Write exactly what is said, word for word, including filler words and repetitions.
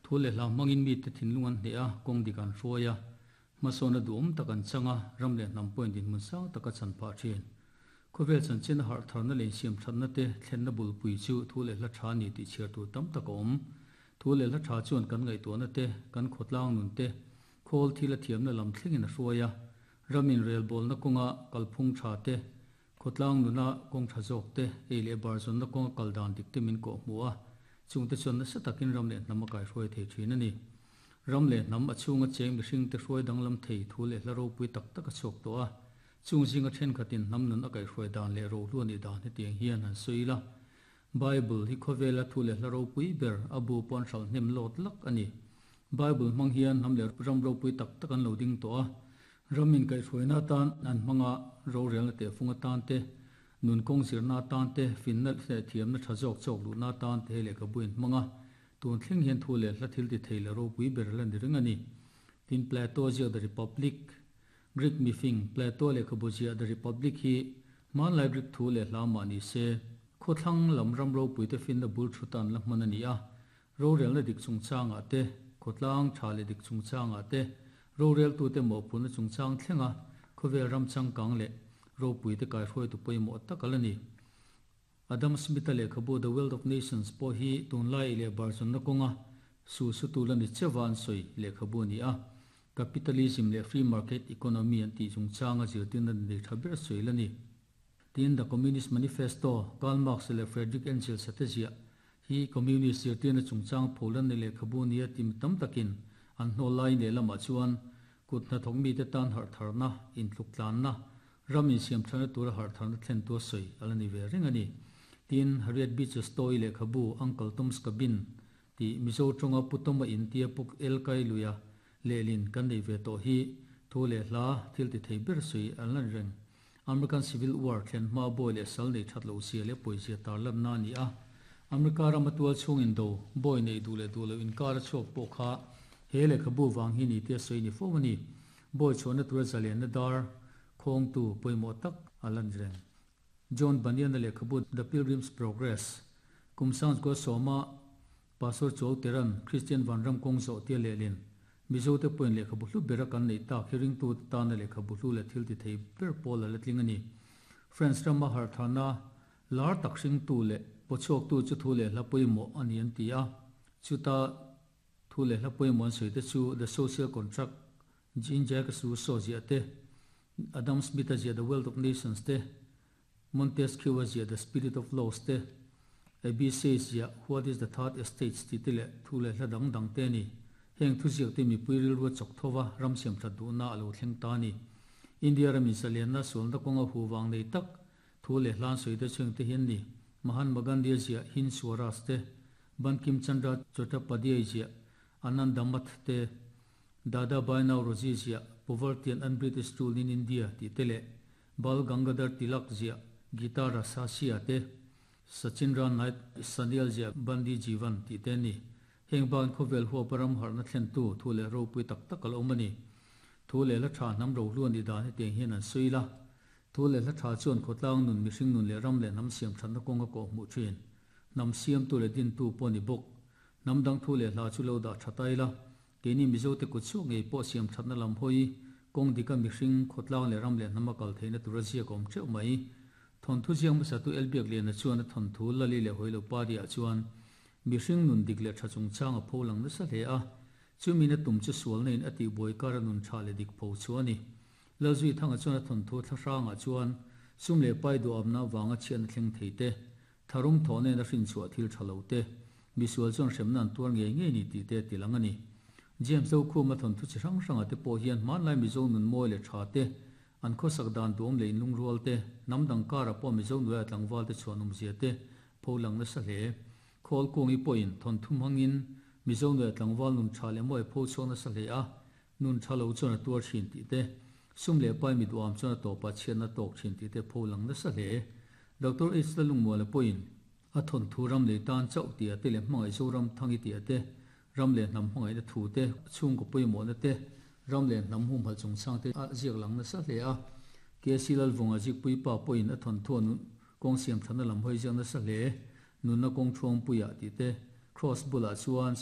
Thu leh hla hmangin mite thinlung an hneh a, kawng dik an hruai a, hmasawn a duhawm tak an chang a, ram leh hnam pawhin dinhmun sang tak a chan phah thin. Khawvel chanchin a harh tharna leh insiam thatna te thlenna bulpui chu thu leh hla tha a ni tih chhiar tur tam tak a awm. Thu leh hla tha chuan kan ngaihtuahna te, kan khawtlang nun te, khawl thil a thiamna lam thlengin a hruai a, ramin relbawlna kawnga kalphung tha te, khawtlang nuna kawng tha zawk te, ei leh bar zawnna kawnga kal dan dik te min kawh hmuh a, chungte chuan nasa takin ram leh hnam a kaihruai thei thin a ni. Ram leh hnam a chhunga cheng mihring te hruai danglam thei thu leh hla ropui tak tak a chhuak tawh a, chung zinga thenkhatin hnam nun a kaihruai dan leh rohlu a nih dan hetiang hian han sawi ila. Bible hi khawvela thu leh hla ropui ber a bu pawh an hralh hnem lawt lak a ni. Bible hmang hian hnam leh ram ropui tak tak an lo ding tawh a, ram inkaihhruaina atan an hmang a, rorelna tehfung atan te, nun kawng zirna atan te, finna leh thiamna tha zawk chawk luhna atan te hei lehkhabu in hmang a, tun thleng hian thu leh hla thil ti thei leh ropui ber la ni reng a ni. Tin, Plato ziak The Republic, Greek mifing Plato lehkhabu ziah The Republic hi hmanlai Greek thu leh hla mah ni se, khawthlang lam ram ropuite finna bul thu tan la hman a ni a, rorelna dik chungchangah te, khawtlang tha leh dik chungchangah te, roreltute mawhphurhna chungchang thlenga khawvel ram changkang leh ropuite kaihruaitu pawimawh tak a la ni. Adam Smith-a lehkhabu The Wealth of Nations pawh hi tunlai leh barzawnna kawnga su sutu la ni cheuha an sawi lehkhabu a ni a, capitalism leh free market economy an tih chungchanga zirtirna nei tha ber sawi la ni. Tin, The Communist Manifesto, Karl Marx leh Friedrich Engels-a te ziah hi Communist zirtirna chungchang pholan ni lehkhabu nia ti mi tam takin an hnawl lai lehlamah chuan kut hnathawk mite tan harh tharna, intluk tlanna, ram insiam thana tura harh tharna thlen tu a sawi a la ni ve reng a ni. Tin, Harriet Beecher Stowe lehkhabu Uncle Tom's Cabin tih Mizo tawnga Pu Toma in tia Puk El Kai luia lehlin kan nei ve tawh hi thu leh hla thil ti thei ber sawi an la ni reng. American Civil War thlen hma bawi leh sal nei that loh zia leh pawizia tarlanna a ni a. America rama tual chhungin do bawi nei duh leh duh loh inkar a chhuak pawh kha he lehkhabu vang hi ni tia sawi ni fo a ni. Bawi chhuahna tura zalenna dar khawngtu pawimawh tak a la ni reng. John Bunyan-a lehkhabu The Pilgrim's Progress, kum sangchukua sawma Pastor Chuau Teran Kristian Vanram kawng zawh tia lehlin Mizote pawhin lehkhabu hlu bera kan neih tak hi ringtute tana lehkhabu hlu leh thil ti thei ber pawl a la tling a ni. France rama harhthana lar tak hringtu leh pawchhuaktu chu thu leh hla pawimawh a ni an ti a. Chuta thu leh hla pawimawh an sawi te chu The Social Contract, Jean-Jacques Rousseau ziah te, Adam Smith-a ziah The Wealth of Nations te, Montesquieu-a ziah The Spirit of Laws te, A B Say ziah What is the Third Estate tih te leh thu leh hla dang dang te a ni. Heng thuziak te mipui rilru a chawk tho va, ram siam that duhna a lo thleng ta a ni. India ramin zalianna sualna kawnga hu vang nei tak thu leh hlan sawi te chheng te hi an ni. Mahatma Gandhi-a ziah Hind Swaraj te, Bankim Chandra Chattopadhyay ziah Ananda Math te, Dadabhai Naoroji ziah Poverty and Un-British Rule in India tih te leh Bal Gangadhar Tilak ziah Gita Rasasiya te, Sachinra Nath Sanyal ziah Bandi Jeevan tih te a ni. Heng ban khawvel huapa ram harhna thlentu thu leh ropui tak tak a lo awm a ni. Thu leh hla tha hnam rohlu a nih dan hetiang hian an sawi la. Thu leh hla tha chuan khawtlang nun, mihring nun leh ram leh hnam siam thatna kawng a kawh hmuh thin. Hnam siamtu leh dintu pawh a ni bawk. Hnam dang thu leh hla chu lo dah tha ta ila, keini Mizote kut chhuak ngei pawh siam thatna lam hawi, kawng dika mihring, khawtlang leh ram leh hnam a kal theihna tur a ziak awm teuh mai. Thawnthu ziak hmasatu Elbiak Liana chuan a thawnthu Lali leh Hawilo Pariah chuan mihring nun dik leh tha chungchang a pho lang nasa hle a, chumi na tum chu sualna in a tihbuai kar a nun tha leh dik pho chu a ni. Lalzui Thanga chuan a thawnthu thlahrangah chuan sum leh pai duhamna avanga chhiatna thleng thei te, tharum thawh nen a hrinchhuah thil tha lo te, misual chuan hremna an tuar ngei ngei ni tih te a ti lang a ni. James Zokhuma thawnthu chi hrang hrangah te pawh hian hmanlai Mizo nun mawi leh tha te, an khawsak dan duam leh inlungrual te, hnam dang karah pawh Mizo nuaia tlangval te chhuan awmzia te pho lang nasa hle. Khawl kungi pawhin thawnthu hmangin Mizo nuaia tlangval nun tha leh mawi pho chhuak nasa hle a, nun tha lo chuan a tuar thin tih te, sum leh pai mi duham chuan a tawpah chhiatna tawk thin tih te pho lang nasa hle. Doctor H Lalungmuala pawhin a thawnthu ram lei tan chauh tih a te leh hmangaih Zoram thangi tih a te, ram leh hnam hmangaihna thu te, chhungkaw pawimawhna te, ram leh hnam humhalh chungchang te a ziak lang nasa hle a. K C Lalvunga zikpuipa pawhin a thawnthu a nun kawng siam thana lam hawi ziak nasa hle. Nunna kawng thuangpuiah tih te, Cross bulah chuan